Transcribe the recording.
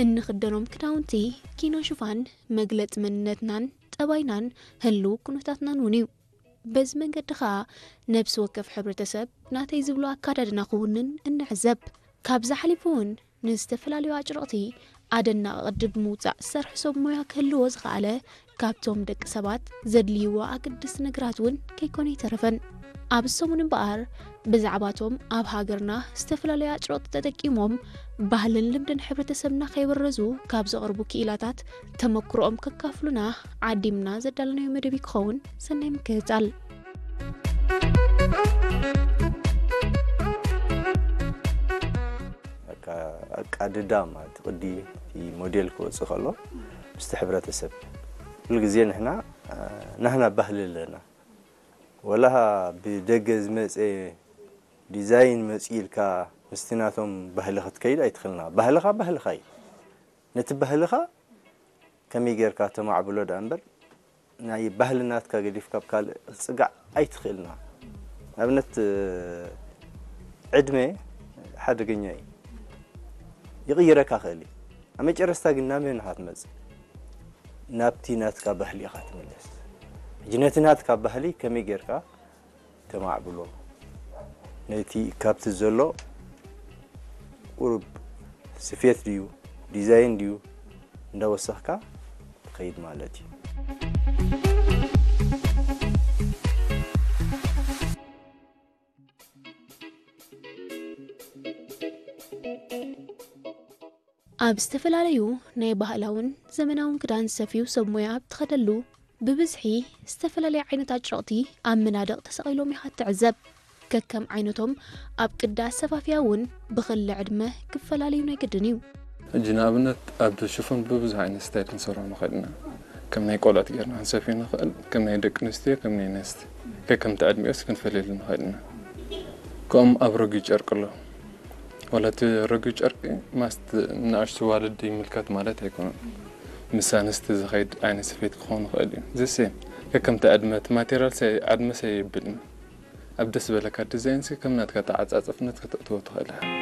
እንኽደኖም ክዳውንቲ ኪኖ ሽፋን መግለጺ መንነትናን ጠባይናን ህልው ኩነታትናን እውን እዩ። በዚ መንገዲ ኸኣ ነብሲ ወከፍ ሕብረተሰብ ናተይ ዝብሎ ኣካዳድና ክውንን እንዕዘብ። ካብዚ ሓሊፉ እውን ንዝተፈላለዩ ኣጭርቕቲ ኣደናቒ ቅዲ ብምውጻእ ዝሰርሑ ሰብ ሞያ ክህልዎ ዝኸኣለ ካብቶም ደቂ ሰባት ዘድልይዎ ኣገደስቲ ነገራት እውን ከይኮነ ኣይተረፈን። ኣብዚ ሰሙን እምበኣር ብዛዕባቶም ኣብ ሃገርና ዝተፈላለዩ ኣጭርቕቲ ተጠቂሞም ባህልን ልምድን ሕብረተሰብና ከይበረዙ ካብ ዘቕርቡ ክኢላታት ተመክሮኦም ከካፍሉና ዓዲምና ዘዳለናዮ መደብ ክኸውን። ሰናይ ምክትታል። በቃ ኣቃድዳ ማለት ቅዲ እቲ ሞዴል ክወፅእ ከሎ ምስቲ ሕብረተሰብ ኩሉ ግዜ ንሕና ናህና ባህሊ ኣለና። ወላ ብደገ ዝመፀ ዲዛይን መፂኡ ኢልካ ምስቲ ናቶም ባህሊ ክትከይድ ኣይትኽእልና። ባህልኻ ባህልኻ እዩ። ነቲ ባህልኻ ከመይ ጌርካ ተማዕብሎ ደኣ እምበር ናይ ባህሊ ናትካ ገዲፍካ ኣብ ካልእ ክትፅጋዕ ኣይትኽእልና። ንኣብነት ዕድመ ሓደገኛ እዩ። ይቕይረካ ክእል እዩ። ኣብ መጨረስታ ግን ናብ መን ኢኻ ትመጽእ? ናብቲ ናትካ ባህሊ ኢኻ ትምለስ። ሕጂ ነቲ ናትካ ባህሊ ከመይ ጌርካ ተማዕብሎ? ነቲ ካብቲ ዘሎ ቁሩብ ስፌት ድዩ ዲዛይን ድዩ እንዳወሰኽካ ትኸይድ ማለት እዩ። ኣብ ዝተፈላለዩ ናይ ባህላውን ዘመናውን ክዳን ዝሰፍዩ ሰብ ሞያ ኣብ ትኸደሉ ብብዝሒ ዝተፈላለየ ዓይነት ኣጭርቕቲ ኣብ መናድቕ ተሰቒሎም ኢኻ ትዕዘብ። ከከም ዓይነቶም ኣብ ቅዲ ኣሰፋፍያ እውን ብኽሊ ዕድመ ክፈላለዩ ናይ ግድን እዩ። ሕጂ ንኣብነት ኣብ ሽፎን ብብዙሕ ዓይነት ስታይል ክንሰርሖ ንኽእል ኢና። ከም ናይ ቆልዑት ጌርና ክንሰፍዮ ንኽእል፣ ከም ናይ ደቂ ኣንስትዮ፣ ከም ናይ ኣንስቲ ከከምቲ ዕድሚኦስ ክንፈልየሉ ንኽእል ኢና። ከምኡ ኣብ ረጒድ ጨርቂ ኣሎ። ዋላ እቲ ረጒድ ጨርቂ ማስት ንኣሽቱ ዋልድ ይምልከት ማለት ኣይኮነን። ምስ ኣንስቲ ዝኸይድ ዓይነት ስፌት ክኸውን ይኽእል እዩ። ዘሴም ከከምቲ ዕድመ እቲ ማቴሪያል ዓድመ ሰየብልና ኣብ ደስ ዝበለካ ዲዛይን እስኪ ከም ናትካ ተዓጻጸፍነት ከተእትዎ ትኽእል ኢኻ።